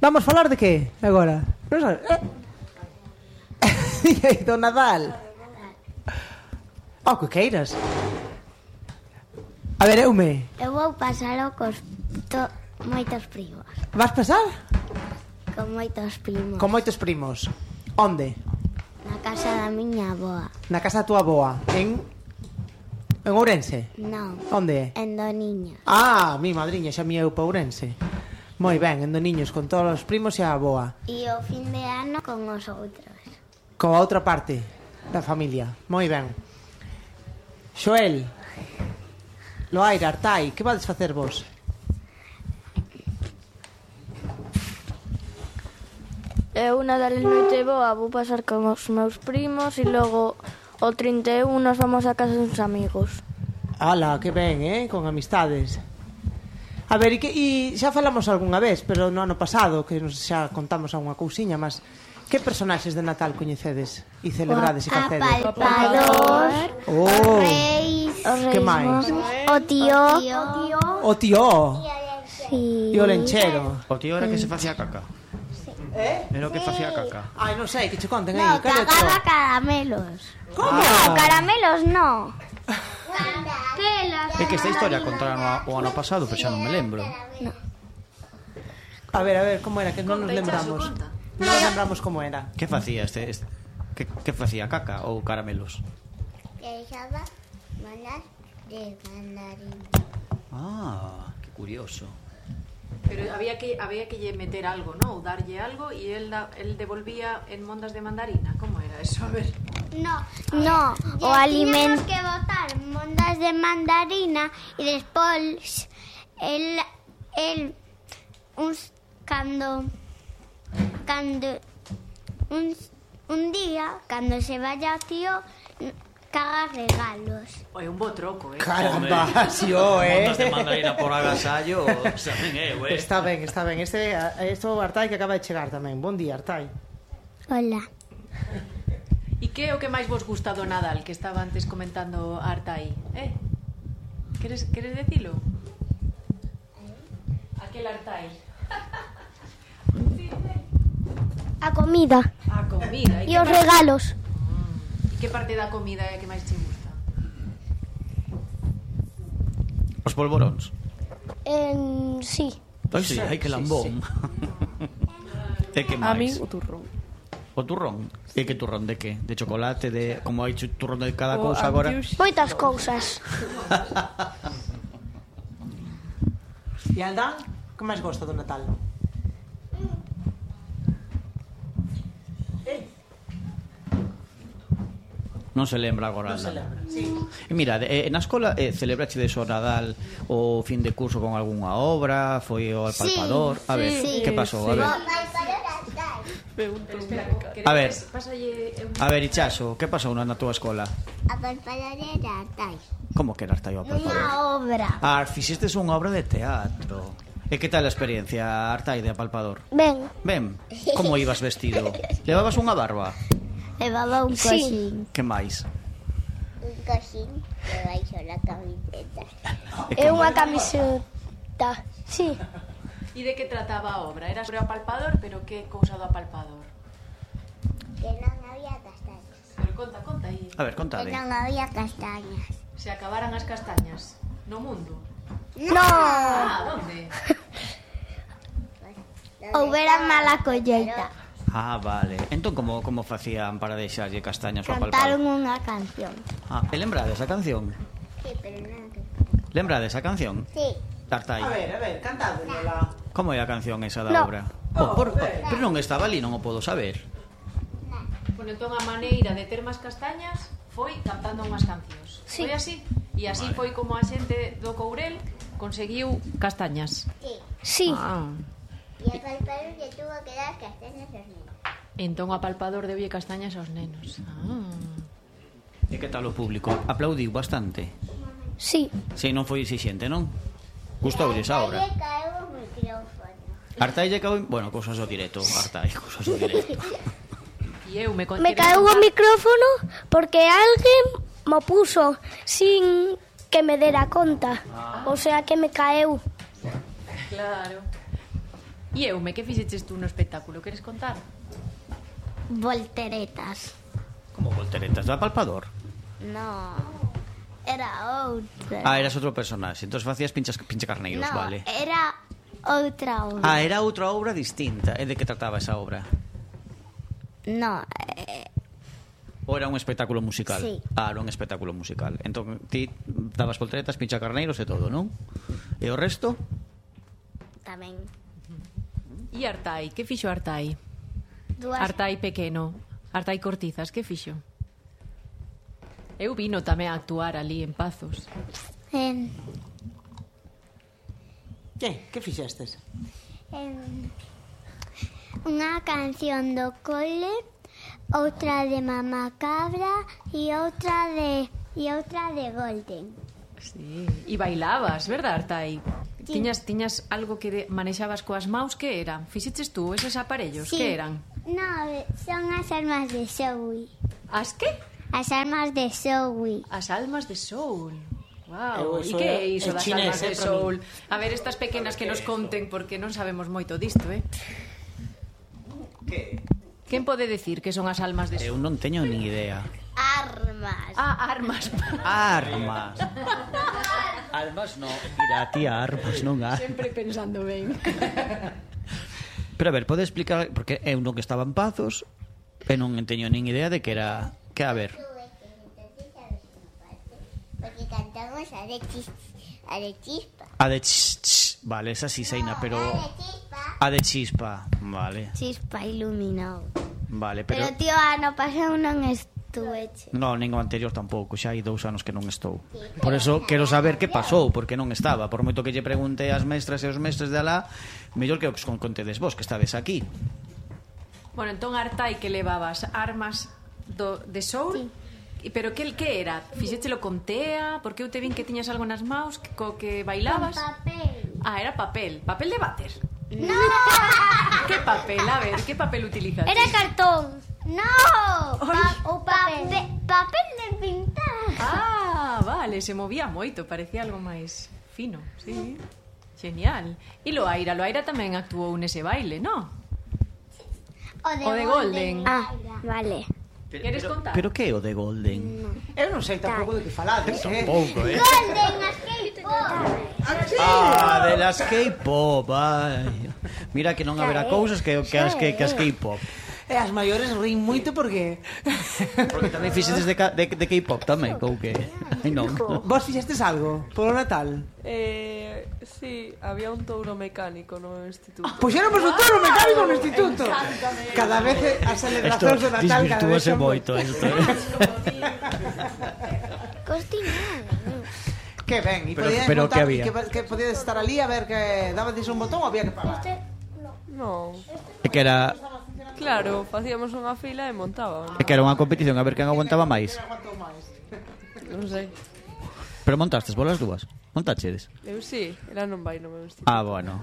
Vamos falar de que agora? Non sabes? Do Nadal. Que queiras. A ver, Eume. Eu vou pasalo cos moitos primos. Vas pasar? Con moitos primos. Con moitos primos. Onde? Na casa da miña avoa. Na casa da tua avoa. En Ourense? Non. Onde é? En Doniño. Mi madriña xa me eu pa Ourense. Moi ben, en Doniños con todos os primos e a avoa. E o fin de ano con os outros. Coa outra parte da familia. Moi ben. Xoel, Loaira, Artai, que vades facer vos? Eu Nadal e Noiteboa vou pasar con os meus primos e logo o 31 nos vamos a casa dos amigos. Ala, que ben, con amistades. A ver, e xa falamos algunha vez, pero no ano pasado, que nos xa contamos algunha cousiña, mas que personaxes de Natal coñecedes e celebrades e facedes? Apalpador, os reis, que máis? o tío. O tío Sí. e o lenchero. O tío era que se facía caca. Era o que facía caca. Ai, non sei, que che conten aí. No, cagaba caramelos. Como? No, caramelos no. É que esta historia contaron o ano pasado, pero xa non me lembro. A ver, como era, que non nos lembramos. Non nos lembramos como era. Que facía que facía caca ou caramelos? Que echaba manas de mandarín. Que curioso. Pero había que lle meter algo, ¿no? Ou darlle algo e el devolvía en mondas de mandarina. Como era eso? A ver. No, o alimento que botar mondas de mandarina e despois un día cando se vaya o tío caga regalos. É un bo troco, Caramba, si Mondas de mandarina por agasallo, saben Está ben. Isto Artai que acaba de chegar tamén. Bon día, Artai. Hola. E que é o que máis vos gusta do Nadal, que estaba antes comentando Artai? Queres decilo? Aquel Artai. A comida A comida. e os regalos. E que parte da comida é a que máis te gusta? Os polvoróns. Sí. Sí, hai que lambón. E que máis? A mí o turrón. O turrón? E que turrón de que? De chocolate, de como hai turrón de cada cousa agora? Moitas cousas. E Aldán, que máis gosta do Natal? Non se lembra agora. E mira, na escola celebrachedes o Nadal o fin de curso con algunha obra? Foi o Apalpador? A ver, que pasou? A ver, Ichaxo, que pasou na túa escola? A Apalpador era Artai. Como que era Artai o Apalpador? Unha obra. Fixestes unha obra de teatro. E que tal a experiencia, Artai, de Apalpador? Ben, Como ibas vestido? Levabas unha barba? levaba un coxín. Que máis? Un coxín debaixo da camiseta. É unha camiseta. Sí. E de que trataba a obra? Era sobre o apalpador, pero que cousa do apalpador? Que non había castañas. Pero conta aí. A ver, contade. Que non había castañas. Se acabaran as castañas no mundo. No. Donde? Houbera mala colleita. Vale. Entón, como facían para deixarlle castañas ao Cantaron Apalpador? unha canción. E lembrades a canción? Sí, pero non que... Lembrades a canción? Sí. Artai. A ver, cantádela. Como é a canción esa da obra? Pero non estaba ali, non o podo saber. Bueno, entón a maneira de ter máis castañas foi cantando unhas cancións. Sí. Foi así? E así foi como a xente do Courel conseguiu castañas. Sí. E a Apalpador lle tuvo que dar castañas aos nenos. Entón o apalpador deulle castañas aos nenos. E que tal o público? Aplaudiu bastante? Sí. Si, non foi exixente, non? Gustoulles a obra? Lle caeu o micrófono. Artai lle caeu... Bueno, cousas do directo, Artai, cousas do directo. E eu Me caeu o micrófono porque alguén mo puso sin que me dera conta. O sea que me caeu. Claro. E Eume, que fixeches tú no espectáculo? Queres contar? Volteretas. Como volteretas do palpador? No, era outra. Ah, eras outro personaxe. Entón facías pinchacarneiros, No, vale. era outra obra. Ah, era outra obra distinta. E de que trataba esa obra? No, Ou era un espectáculo musical? Sí. Ah, era un espectáculo musical. Entón ti dabas volteretas, pinchacarneiros e todo, non? E o resto? tamén. E Artai, que fixo Artai? Dúas. Artai pequeno, Artai Cortizas, que fixo? Eu vino tamén a actuar ali en Pazos. Que fixestes? Unha canción do cole, outra de Mamá Cabra e outra de Golden. Sí. E bailabas, verdad, Artai? Sí. Tiñas algo que manexabas coas maus, que era? Fixeches tú eses aparellos, Sí. que eran? No, son as armas de Zoe. As que? As armas de Zoe. As almas de Soul. Wow. E Iso que é é iso das chinés, almas de para Soul? A ver, estas pequenas que nos conten, porque non sabemos moito disto, Quen pode decir que son as almas de Eu Soul? non teño nin idea. Armas. Ah, armas. Armas. Almas non. Mira, tía, armas non armas. Sempre pensando ben. Pero a ver, pode explicar, porque eu non que estaba en Pazos e non teño nin idea de que era... Que a ver, Porque cantamos a de chispa. a de vale, esa sí seina, pero... A de chispa, vale, Chispa iluminado. vale, pero... Pero tío, ano pasado non estuveche. Non, nin o anterior tampouco, xa hai 2 anos que non estou. Por eso quero saber que pasou, porque non estaba. Por moito que lle pregunte ás mestras e os mestres de alá, mellor que os contedes vos, que estades aquí. Bueno, entón Artai, que levabas armas de Soul, pero que era? Fixéchelo con tea? Porque eu te vin que tiñas algo nas maus co que bailabas. Papel. Ah, era papel. Papel de váter. No, Que papel? A ver, que papel utilizas? era cartón. No, o papel de pintar. Ah, vale, se movía moito, parecía algo máis fino, sí. Genial. E Loaira tamén actuou nese baile, non? O de Golden. Ah, vale. Queres contar? Pero que é o de Golden? Eu non sei tampouco de que falades, Tampouco, Golden, as K-pop. Ah, de las K-pop, ai. Mira que non haberá cousas que as K-pop. E as maiores rin moito porque... Porque tamén fixetes de K-pop tamén, ou que? Ai non. Vos fixestes algo polo Natal? Sí, había un touro mecánico no instituto. Puxéramos un touro mecánico no instituto. Cada vez as celebracións do Natal cada vez desvirtúase son... moito isto. Costinado. Que ben, e Pero- podíades pero montar, que había? que podíades estar ali a ver que dabades un botón ou había que pagar? No, É que era claro, facíamos unha fila e montábamos. unha competición a ver quen aguantaba máis. Non sei. Pero montastes vos as dúas? Montachedes? Eu sí, era non vai no meu instituto. Ah, bueno.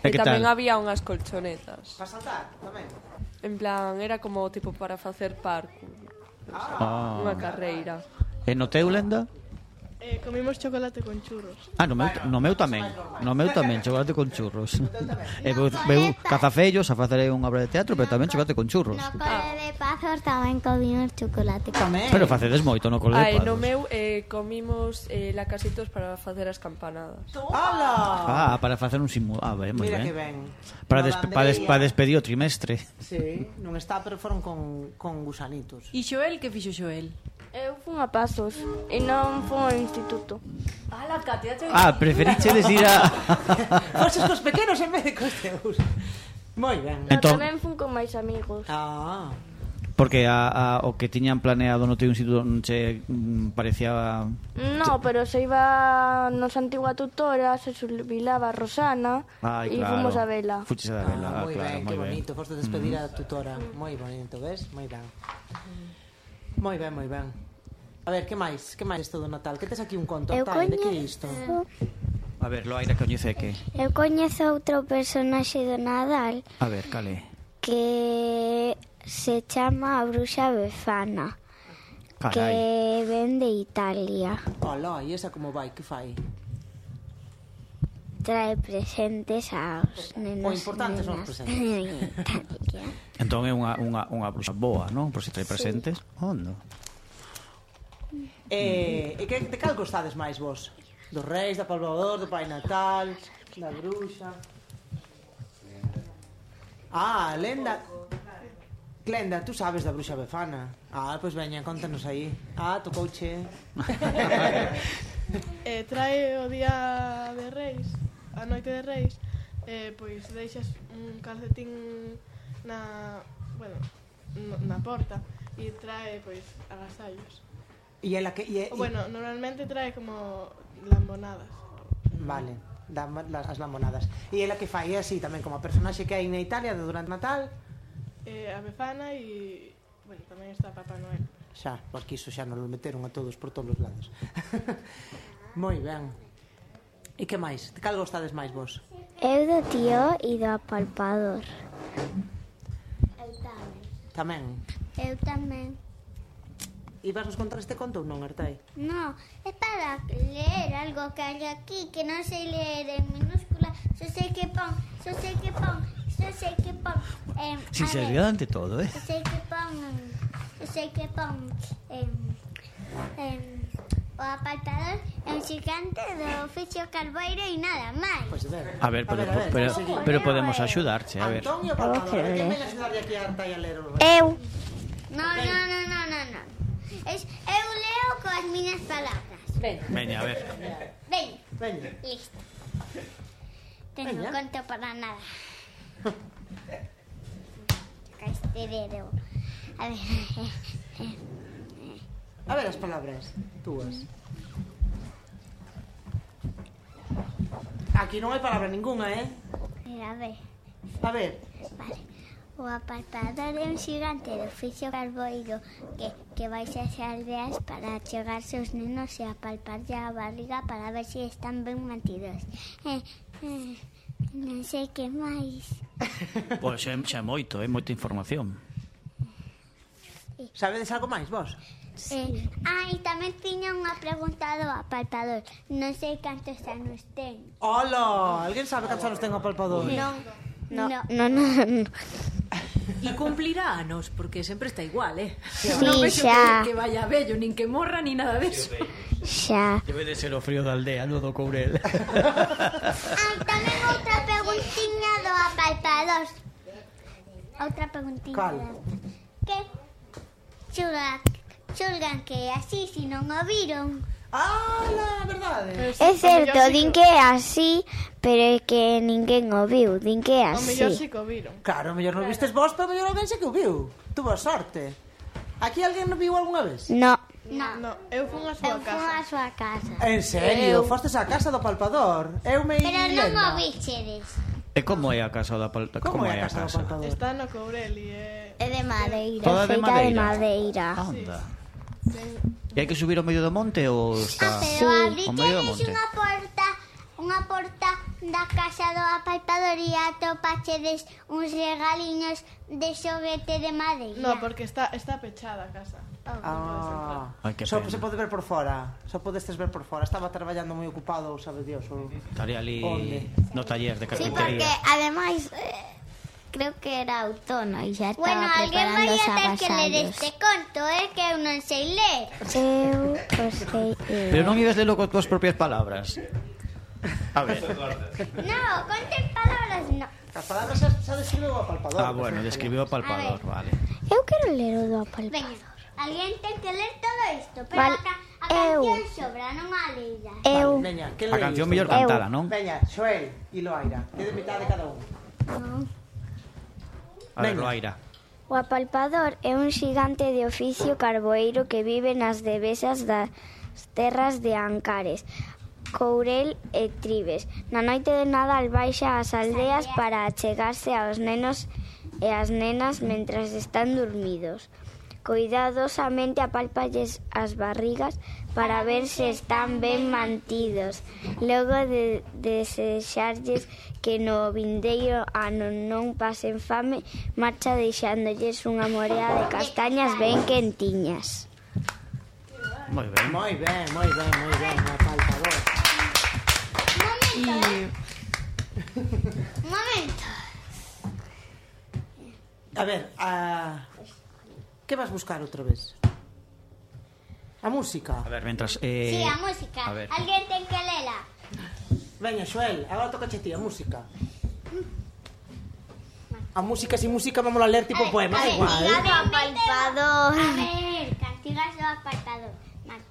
E E que tamén tal? había unhas colchonetas. Para saltar, tamén. En plan, era como tipo para facer parkour. Ah. Unha carreira. E no teu, Lenda? Comimos chocolate con churros. Ah, no meu tamén. No meu tamén, chocolate con churros. E veu cazafellos a facer unha obra de teatro, pero tamén chocolate con churros. No cole de Pazos tamén comimos chocolate. Tamén. Pero facedes moito no cole de Ai, no Pazos. meu comimos lacasitos para facer as campanadas. ¡Hala! Ah, para facer un simulado. Ah, ben, moi Mira ben. que ben. Para Bandeira. despedir o trimestre. Sí, non está, pero foron con gusanitos. E Xoel, que fixo Xoel? Eu fun a Pazos e non fun ao instituto. Ala, Katia, Ah, preferichedes ir a... Foses cos pequenos en vez de cos teus. Moi ben. No, Entón- tamén fun con máis amigos. Ah, Porque o que tiñan planeado no teu instituto non che parecía... No, pero se iba nos antigua tutora, se jubilaba Rosana Ai, e claro. fomos a vela. Fuches a vela, moi claro, ben, moi que ben. bonito. Foste despedir a tutora. Moi bonito, ves? Moi ben. Moi ben, moi ben. A ver, que máis? Que máis isto do Natal? Que tes aquí un conto? Eu Tal, de que é isto? A ver, Loaira, coñece que... Eu coñezo outro personaxe do Nadal A ver, cale. que se chama a Bruxa Befana, Carai. que ven de Italia. Ola, e esa como vai? Que fai? trae presentes aos nenos. O importante son os presentes. Entón é unha bruxa boa, non? Por se trae presentes. Ondo. E de cal gostades máis vos? Dos reis, da Palvador, do Pai Natal, da bruxa... Lenda... Glenda, tú sabes da bruxa Befana. Pois veña, contanos aí. Tocouche. Trae o día de Reis, a noite de Reis, pois deixas un calcetín na porta e trae pois agasallos. E ela que Bueno, normalmente trae como lambonadas. Vale, as lambonadas. E ela que fai así tamén como a personaxe que hai na Italia de durante Natal? A Befana e, bueno, tamén está Papá Noel. Xa, porque iso xa nos lo meteron a todos por todos os lados. Moi ben. E que máis? De cal gostades máis vos? Eu do tío e do apalpador. Tamén. Eu tamén. E vas nos contar este conto ou non, Artai? No, é para ler algo que hai aquí, que non sei ler en minúscula. Só sei que pon. Sinceridade ante todo, Só sei que pon o apalpador é un xigante do oficio carboeiro e nada máis. Pois ver. A ver, pero podemos axudarche, a ver. Antonio Palpador, quen ven axudarlle aquí a Artai a ler o... Eu. No. Eu leo coas miñas palabras. Veña, a ver. Veña. Listo. Tengo conto para nada. Este dedo. A ver as palabras túas. Aquí non hai palabra ninguna, A ver. A ver. Vale. O apalpador é un xigante de oficio carboeiro que vai ás aldeas para chegarse os nenos e apalparlle a barriga para ver se están ben mantidos. Non sei que máis. Pois xa moita información. Sabedes algo máis vos? E tamén tiña unha pregunta do apalpador. Non sei cantos anos ten. Hola, alguén sabe cantos anos ten o apalpador? No. E cumplirá anos, porque sempre está igual, Sí, non vexo xa. que vaya vello, nin que morra, nin nada deso. Xa. Debe de ser o frío da aldea, no do Courel. Tamén outra preguntiña do apalpador. Outra preguntiña. Cal? Que xulgan que é así, se non o viron. La verdade. É certo, din que é así, pero é que ninguén o viu, din que é O mellor así. si que o viron. Claro, mellor non vistes vos, pero mellor alguén se que o viu. Tuvo sorte. Aquí alguén non viu algunha vez? No, Eu fun a súa casa. a súa casa. En serio? Fostes á casa do palpador? Eu me Pero non o vichedes. E como é a casa da Como é a casa do palpador? Está no Courel e É de madeira, Toda de feita de madeira? madeira. Anda. E hai que subir ao medio do monte ou está... Pero ao medio do abritedes monte? unha porta da casa do apalpador e atopachedes uns regaliños de xoguete de madeira. No, porque está pechada a casa. Ai, que Só pena. se pode ver por fora. Só podestes ver por fora. Estaba traballando moi ocupado, sabe Dios. Estaría ali Onde? no taller de Sí, porque carpintería. ademais creo que era outono e xa estaba alguén vai preparando os a ter que ler agasallos. este conto, que eu non sei ler. Eu o sei ler. Pero non ibas lelo con túas propias palabras. A ver. No, conten palabras, no. As palabras xa describeu o palpador. Bueno, describiu o palpador, vale. Eu quero ler o do apalpador. Veña, alguén ten que ler todo isto, pero Vale, a canción sobra, non a leira. Eu Veña, que A canción mellor cantala, non? Veña, Xoel e Loaira. Que de mitad de cada un. A ver, Veña. Loaira. O apalpador é un xigante de oficio carboeiro que vive nas devesas das terras de Ancares, Courel e Tribes. Na noite de Nadal baixa ás aldeas para achegarse aos nenos e as nenas mentras están dormidos. Cuidadosamente apálpalles as barrigas para ver se están ben mantidos. Logo de desexarlles que no vindeiro ano non pasen fame, marcha deixándolles unha morea de castañas ben quentiñas. Moi ben. Moi ben, o palpador. Un momento. A ver, que vas buscar outra vez? A música. A ver, mentras... Sí, a música. A ver. Alguén ten que lela. Veña, Xoel, agora toca ti, a música. A música, sin música, vamos a ler tipo poema, igual. Castigado apartador. A ver, castigas o apartador.